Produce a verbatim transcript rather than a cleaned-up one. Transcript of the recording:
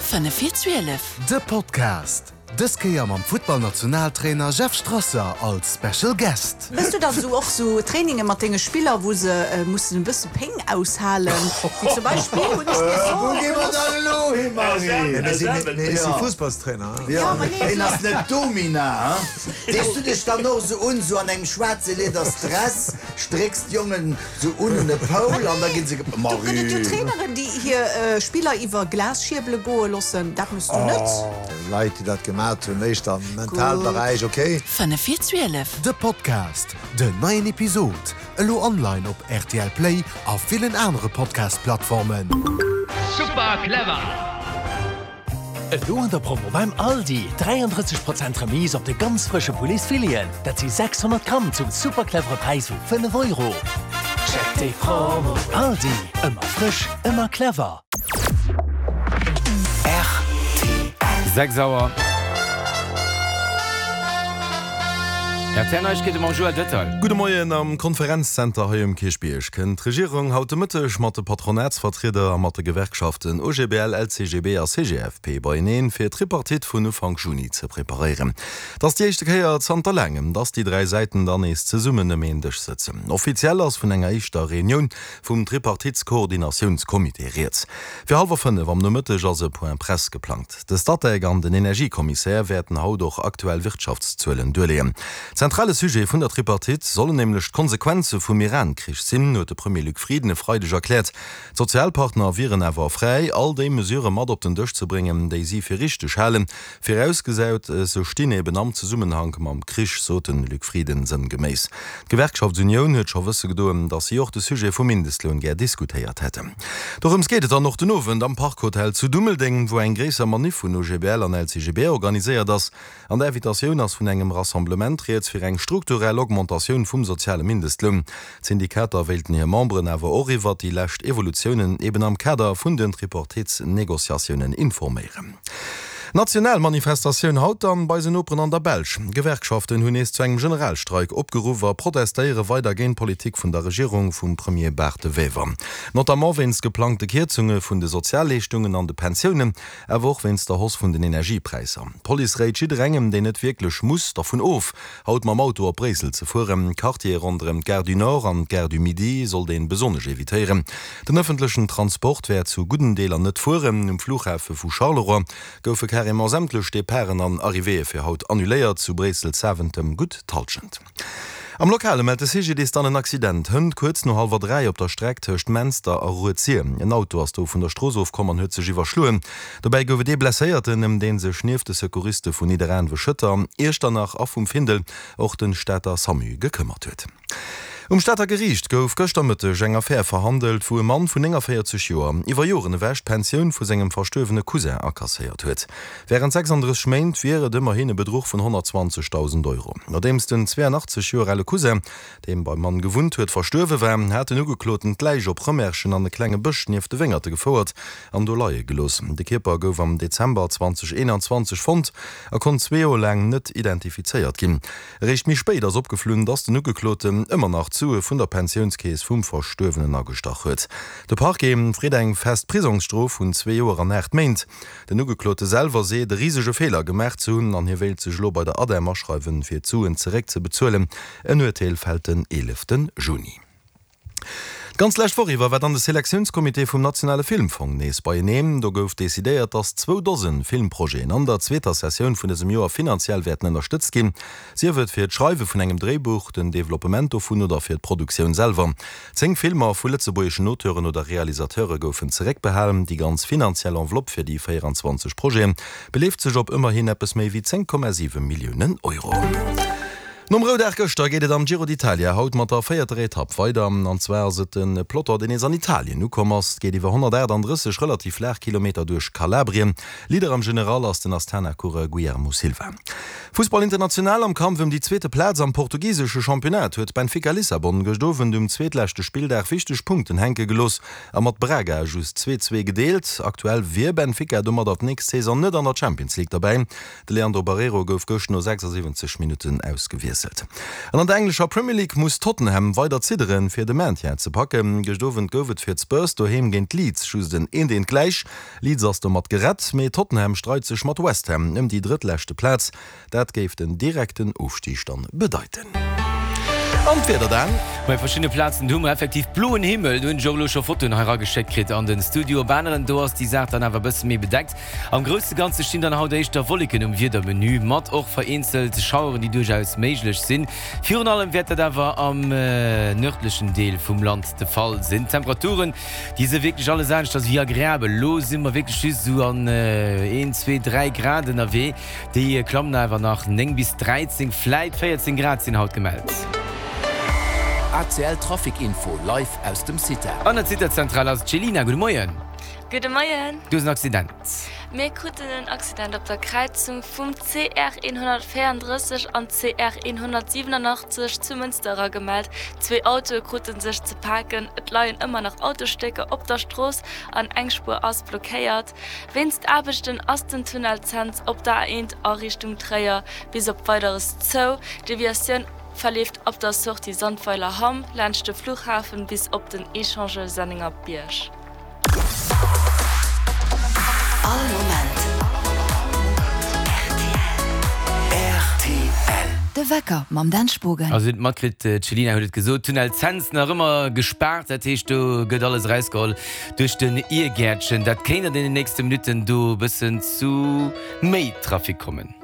Fënnef vir zwielef. De Podcast, dës Kéier mam Futtballnationaltrainer Jeff Strasser als Special Guest. Méchs du dann sou och sou Traininge mat denge Spiller, wou se mussen e bësse Péng aushalen, wéi zum Beispill hunn ech mir Wou soe gi mer gelooss. dann elo hin, Marie? Mir sinn, mir si Fussballstrainer. Jo, ma nee, Hien ass net Domina, hein? Dees du dech dann och sou un, sou an engem schwaarze Lieders Dress, strécks d'Jongen sou un un e Poul an da ginn se ge. Do gëtt et jo Marie! Traineren, déi hir Spiller iwwer Glasschierbele goe loossen. Dat méchs du net? Leit, déi dat gemat hunn, éischter am Mentalberäich, ok. Fënnef vir zwielef. De Podcast, den neien Episod, elo online op R T L Play a villen anere Podcast-Plattformen. Super clever! Elo an der Promo beim Aldi dräiandrësseg Prozent Remise op de ganz frësche Pouletsfileten. Dat si sechshonnert Gramm zum super clevere Präis vu fënnef Euro. Check déi Promo. Aldi, ëmmer frësch, ëmmer clever. Sechs Auer. R T L Neiegkeete mam Joël Dötterl. Gudde Moien, Am Konferenzzenter hei um Kierchbierg kënnt d'Regierung haut de Mëtteg mat de Patronatsvertrieder a mat de Gewerkschaften O G B L, L C G B a C G F P beieneen, fir d'Tripartite vun Ufank Juni ze preparéieren. Et ass déi éischte Kéier zanter laangem, dass déi dräi Säiten dann nees zesummen ëm een Dësch sëtzen. Offiziell ass vun enger éischter Reunioun vum Tripartitskoordinatiounscomité rieds. Fir hallwer fënnef am Nomëtteg ass e Point Presse geplangt. De Statec an den Energiekommissär wäerten haut och aktuell Wirtschaftszuelen duerleeën. Zentrale Sujet vun der Tripartite sollen nämlech d'Konsequenze vum Iran-Krich sinn, huet de Premier Luc Frieden e Freideg erkläert. D'Sozialpartner wieren awer fräi, all déi Mesurë mat op den Dësch ze bréngen, déi si fir richteg halen, virausgesat se stinn eben am Zesummenhank mam Krich, sot de Luc Frieden sënngeméiss. D'Gewerkschaftsunioun huet scho wësse gedoen, datt si och de Sujet vum Mindestloun gär diskutéiert hätten. Dorëms geet et dann och den Owend am Park Hotel zu Dummeldeng, wou eng gréisser Maniff vun O G B L an L C G B organiséiert ass. An der Invitatioun ass vun engem Rassemblement rieds fir eng strukturell Augmentatioun vum soziale Mindestloun. D'Syndikater wéilten hir Memberen awer och iwwert déi lescht Evolutiounen eben am Kader vun den Tripartitsnegociatiounen informéieren. National Manifestatioun haut dann bei eisen Noperen an der Belsch. Gewerkschaften hunn nees zu engem Generalstreik opgeruff a protestéiere weider géint d'Politik vun der Regierung vum Premier Bart De Wever. Notamment wéinst geplangte Kierzunge vun de Sozialleeschtungen an de Pensiounen, awer och wéinst der Hausse vun den Energiepräisser. D'Police réit jidderengem, deen net wierklech muss, dervun of, haut mam Auto op Bréissel ze fueren. Quartiere ronderëm d'Gare du Nord an d'Gare du Midi sollt ee besonnesch evitéieren. Den ëffentlechen Transport wäert zu gudden Deeler net fueren. Um Flughafe vu Charleroi goufe carrément sämtlech Departen an Arrivéeë fir haut annuléiert, zu Bréissel-Zaventem gutt d'Hallschent. Am Lokale mellt de C G D I S dann en Accident hënt kuerz no hallwer dräi op der Streck tëscht Menster a Rued-Sir. En Auto ass do vun der Strooss ofkomm an huet sech iwwerschloen. Dobäi gouf et ee Blesséierten, ëm dee sech nieft de Secouriste vun Nidderaanwen, Schëtter, Iechternach a vum Findel och de Stater SAMU gekëmmert huet. Um Stater Geriicht gouf gëschter Mëtteg eng Affär verhandelt, wou e Mann vun nénganvéierzeg Joer iwwer Joren ewech d'Pensioun vu sengem verstuerwene Cousin akasséiert huet. Wärend sechsandrësseg Méint wier et ëmmerhin e Bedruch vun honnertzwanzegdausend Euro. Nodeems den zweeanachtzeg Joer ale Cousin, dee beim Mann gewunnt huet, verstuerwe war, hat den Ugekloten d'Läich op Rëmerschen an e klenge Bësch nieft de Wéngerte gefouert an do leie gelooss. De Kierper gouf am Dezember zweedausendeenanzwanzeg fonnt a konnt zwee Joer laang net identifizéiert ginn. Eréischt méi spéit ass opgeflunn, dass den Ugekloten ëmmer nach d'Sue vun der Pensiounskeess vum Verstuerwenen agestach huet. De Parquet freet eng fest Prisongsstrof vun zwee Joer an aacht Méint. Den Ugeklote selwer seet, e risege Feeler gemaach ze hunn an hie wéilt sech elo bei der ADEM aschreiwen, fir d'Suen zeréckzebezuelen. En Urteel fält den eelefte Juni. D'ganz lescht Woch iwwer war dann de Selektiounscomité vum nationale Filmfong nees beieneen. Do gouf decidéiert, dass zwou Dose Filmprojeten an der zweeter Sessioun vun dësem Joer finanziell wäerten ënnerstëtzt ginn. Sief et fir d'Schreiwe vun engem Dréibuch, den Developpement dovun oder fir d'Produktioun selwer. Zéng Filmer vu lëtzebuergeschen Auteuren oder Realisateure goufen zeréckbehalen. Déi ganz finanziell Enveloppe fir déi véieranzwanzeg Projete beleeft sech op ëmmerhin eppes méi wéi zéng Komma siwe Milliounen Euro. Nom Roudag gëschter geet et am Giro d'Italia haut mat der véierter Etapp weider. An zwar ass et de Peloton, deen nees an Italien ukomm ass. Et geet iwwer honnertaachtanddrësseg relativ flaach Kilometer duerch Kalabrien. Leader am General ass den Astana-Coureur Guillermo Silva. Fussball international, Am Kampf ëm déi zweete Plaz am portugisesche Championnat huet Benfica Lissabon gëscht Owend um zweetleschte Spilldag wichteg Punkten hänke gelooss a mat Braga just zwee zwee gedeelt. Aktuell wier Benfica domadder d'nächst Saison net an der Champions League derbäi. De Leandro Barreiro gouf gëscht no sechsasiwwenzeg Minutten ausgewiesselt. gewiesselt. An an der englescher Premier League muss Tottenham weider zidderen, fir de Maintien ze packen. Gëscht Owend gouf et fir d'Spurs doheem géint Leeds just en eent eent gläich. Leeds ass domat gerett, mee Tottenham streit sech mat West Ham ëm déi drëttleschte Plaz. Dat géif den direkten Ofstig dann bedeiten. An d'Wieder dann? Bei verschiddene Plazen hu mer effektiv bloen Himmel, do hunn ech och elo scho Fotoen hei erageschéckt kritt an den Studio. Op aneren, do ass déi Saach dann awer e bësse méi bedeckt. Am grousse Ganze stinn dann haut éischter Wolleken um Wiedermenü, mat och vereenzelt Schaueren, déi duerchaus méiglech sinn. Virun allem wäert dat awer am nërdlechen Deel vum Land de Fall sinn. D'Temperaturen, déi si wierklech alles aneschters wéi agreabel. Elo si mer wierklech just esou an een, zwee, dräi Grad ënnerwee. Déi klammen awer nach, néng bis dräizéng, vläit véierzéng Grad sinn haut gemellt. A C L Trafic Info live aus dem CITA. An der CITA-Zentral ass d'Chelina. Gudde Moien. Gudde Moien. Du hues en Accident. Mir kruten en Accident op der Kräizung vum C R eenhonnertvéierendrësseg an C R eenhonnertsiwwenenachtzeg zu Mënster eragemellt. Zwee Autoe krute sech ze paken. Et leien ëmmer nach Autosstécker op der Strooss an eng Spuer ass blockéiert. Wéinst Aarbechten ass den Tunnel Cents op der A eent a Richtung Tréier bis op Weideres zou. D'Deviatioun verleeft ab der Sortie Sandweiler Hamm laanscht de Fluchhafen bis op den Echangeur Sennengerbierg. All Moment rtl. De Wecker mam Dan Spogen. Also hutt matkritt, d'Chelina huet et gesot, Tunnel Cents nach ëmmer gespaart, dat heescht do gëtt alles erausgeholl duerch den Iergäertchen. Dat kéint an deenen nächste Minutten do e bëssen zu méi Trafic kommen.